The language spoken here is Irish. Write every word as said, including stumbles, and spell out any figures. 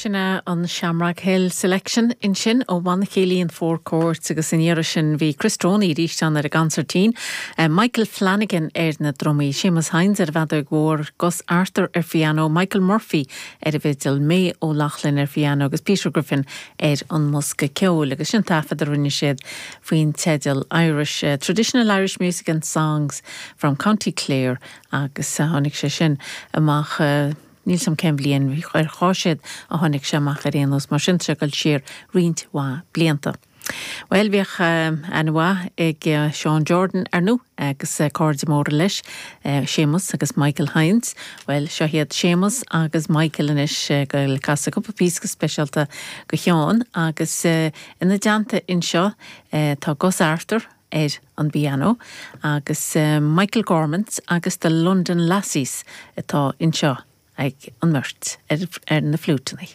Sin é an Shamrock Hill Selection ansin ó Bhanna Céilí an Four Courts agus an iarraidh sin bhí Chris Droney arís ann ar an gconsairtín, uh, Michael Flanagan ar na drumaí, Seamus Hines ar bhfeadóg mhór, Gus Arthur ar piano, Michael Murphy ar an bhfidil, May O'Loughlin ar piano agus Peter Griffin ar an mbosca ceoil agus sin taifead a rinne siad faoin teideal Irish uh, Traditional Irish Music and Songs from County Clare agus uh, tháinig sé sin amach uh, Níl 'fhios a'm cén bhliain ar cháséad a tháinig sé amach ar aon nós mar sin sé gal siar roinnt mhaith blianta. Well bhíodh um, an-mhaith ag uh, Sean Jordan ar ndóigh agus uh, cairde móra leis uh, Seamus agus Michael Hines. Well seo iad Seamus agus Michael anois uh, go casadh cúpla píosa speisialta do Sheán agus uh, ina dteannta anseo uh, tá Gus Arthur ar an bpianó agus uh, Michael Gormans agus the London Lassies atá anseo ag an mbeirt ar, ar na fliúiteanna.